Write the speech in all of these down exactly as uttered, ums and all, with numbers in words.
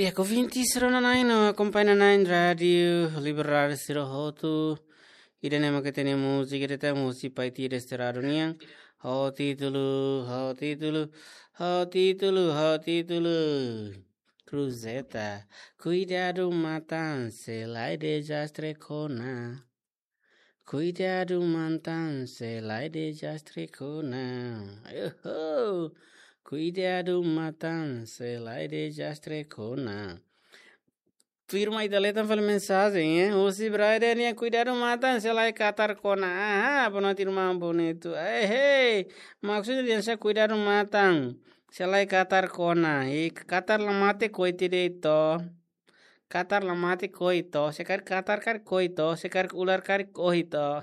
Di'ak ouvintes, rona-na'in no akompaña-na'in Rádiu Liberdade sira hotu. Ida-ne'e mak ita-nia múzika, ita-nia múzika Paiti Desterrado nian. Ho títulu, ho títulu, ho títulu, ho títulu. Cruzeta, kuidadu matan, se la'e dezastre kona. Kuidadu matan, se la'e dezastre kona. Oho! Kuidadu matan, se la'e dezastre kona. Tuirmai ita leten fali mensajen, eh. Husi Braide nian kuidadu matan, se la'e katar kona. Aha, boa noite, irmão bonito. Eh, hey, maksudnya dia sa kuidadu matan, se la'e katar kona. I katar la mate koi ti de'it to. Katar la mate koi to, se karik katar karik koi to, se karik ular karik ohi to.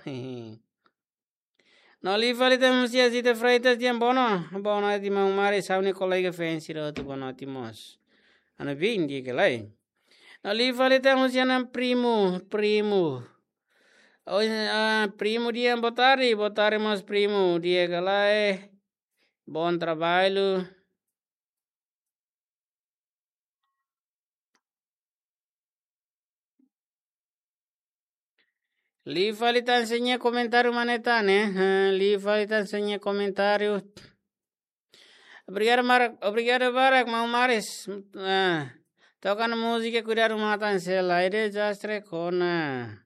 No liu fali tan husi Zita Freitas dehan boa no-, boa noite maun Maris, ha'u-nia kolega fans sira hotu boa noite mós. Anu bin di'ak ka lae. No liu fali tan husi ana primu, primu. Oh, ah, primu dehan boa tarde, boa tarde mós primu, di'ak ka lae. Bom trabalho. Liu fali tan sira-nia komentáriu mane tan, eh? Eh, liu fali tan sira-nia komentáriu. Obrigadu, Mar-, obrigadu barak, maun Maris. Ah, toka ona múzika kuidadu matan, se la'e dezastre kona.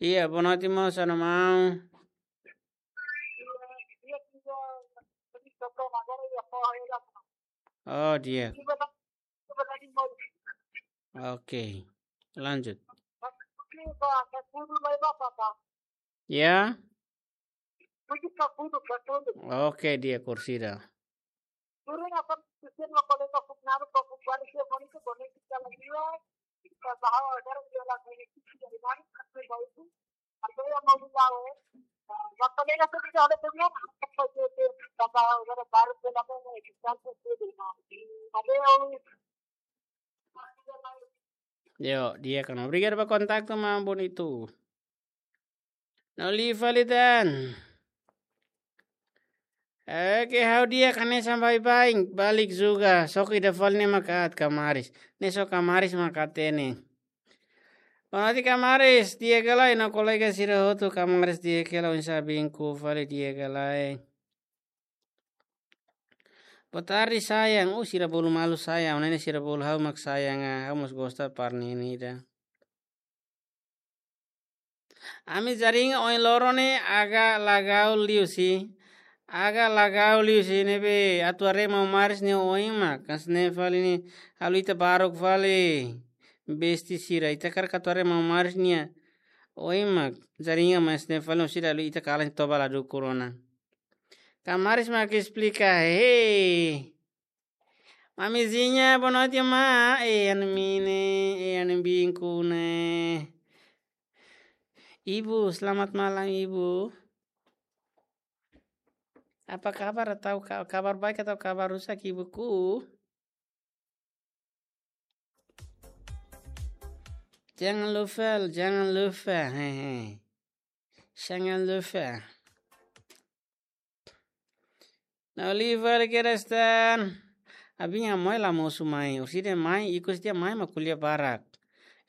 Iya, boa noite, moça, no mau. Oh, di'ak. Oke, lanjut. Ya. Oke, di'ak, kursida. Yo, di'ak ona. Obrigadu ba kontaktu, maun bonito. No liu fali tan. Oke, ha'u di'ak, hanesan baibain, balik juga. Só ke ida fali ne'e mak aat, Kamaris. Ne'e só Kamaris mak aat ne'e. Boa noite, Kamaris. Di'ak ka lae, no kolega sira hotu, Kamaris, di'ak ka lae, oinsá binku fali, di'ak ka lae. Boa tarde, sayang. Uh, sira bolu malu sayang. Ne'e sira bolu ha'u mak sayang, ah, ha'u mós gosta parte ne'e ida. Ami jaringa ohin loron ne'e agak lagau liu si. Agak lagau liu si ne'ebé atu haree maun Maris nia oin mak. Hanesan ne'e fali ne'e halo ita baruk fali. Besti sira. Ita hakarak atu haree maun Maris nia oin mak. Jaringa hanesan ne'e fali, sira halo ita kalan toba la dukur ona. Kamaris mak esplika, hei. Mamizinha, boa noite, ma. Eh, anu mine, eh, anu binku ne'e. Ibu, selamat malam, Ibu. Apa kabar atau ka-, kabar baik atau kabar rusak, Ibuku? Jangan lupa, jangan lupa. Hehe. Jangan lupa. No liu fali kedas tan. Abin amoi la mosu mai. Orsida mai, ikus dia mai mak ko'alia barak.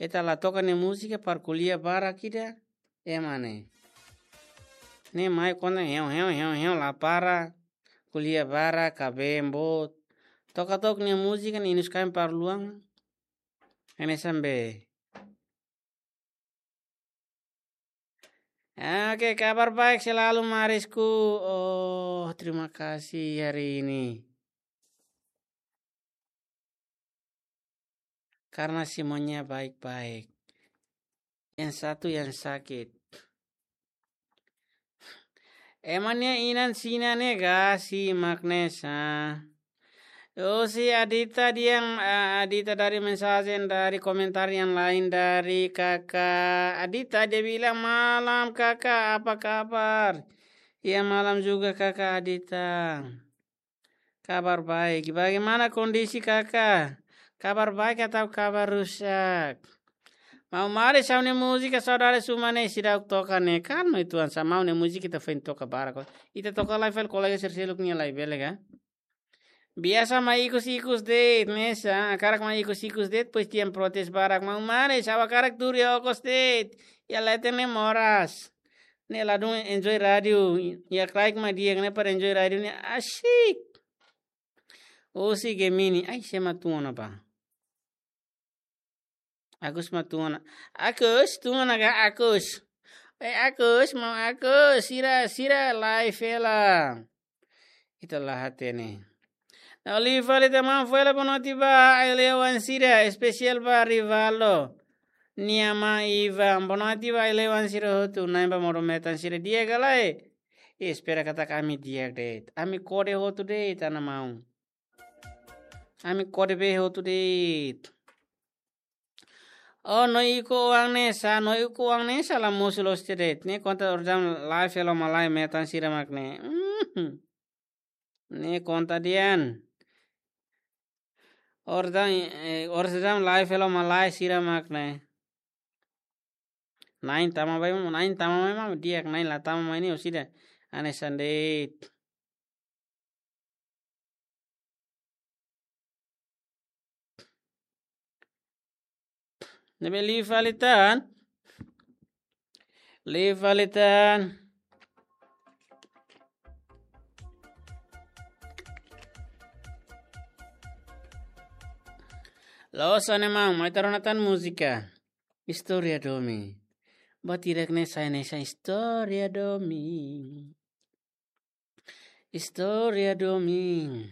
Ita la toka nia múzika para ko'alia barak ida. Ema ne'e. Ne'e mai konta heu, heu, heu, heu, la para. Ko'alia barak, kabeen boot. Toka tok nia múzika ne'e inus kain para luan. Hanesan be. Oke, kabar baik selalu, Marisku. Oh, terima kasih hari ini. Karena semuanya baik-baik. Yang satu yang sakit. Ema nia inan sina ne'e gasi mak ne'e sa. Oh, si Adita dia, ah, Adita dari mensajen, dari komentar yang lain dari Kakak Adita, dia bilang, "Malam, Kakak, apa kabar?" Ya, malam juga, Kakak Adita. Kabar baik. Bagaimana kondisi Kakak? Kabar baik atau kabar rusak? Maun Maris, ha'u-nia múzika saudade suma ne'e seidauk toka ne'e. Kan no itu ansa maun nia múzika ita foin toka barak. Ita toka lai fali kolega sira seluk nia lai bele ka? Biasa mak ikus-ikus de'it, ne'e sa, hakarak mak ikus-ikus de'it, pois tian protes barak mak umare, saba hakarak tuur iha okos de'it. Iha leten ne'e moras. Ne'e ladún Enjoy Radio, iha kraik mak di'ak ne'e para Enjoy Radio ne'e asik. Husi Gemini, ai, sé mak tun ona bá. Agus mak tun ona. Agus, tun ona ka Agus. Eh, Agus, maun Agus, sira, sira, live hela. Ita la hatene. Ne'e liu fali tan maun, foin hela bonoite ba, ai-leuan sira, espesiál ba Rivaldo. Nia mai Ivan, bonoite ba, ai-leuan sira hotu, na'in ba modo metan sira di'ak ka lae. Espera katak ami di'ak de'it. Ami kode hotu de'it, ana maun. Ami kode bee hotu de'it. Oh, no iko uang ne'e sa, no iko uang ne'e sa la mosu loos de'it. Ne'e konta Orsam live hela malae metan sira mak ne'e. Mhm. Ne'e konta di'ak. Orsam, eh, Orsam live hela malae sira mak ne'e. Na'in tama ba, na'in tama ba, di'ak, na'in la tama mai ne'e orsida. Hanesan de'it. Ne'ebé liu fali tan. Liu fali tan. Loos, ana maun, mai ita rona tan múzika. Istória domin. Buat hirak ne'e sai hanesan istória domin. Istória domin.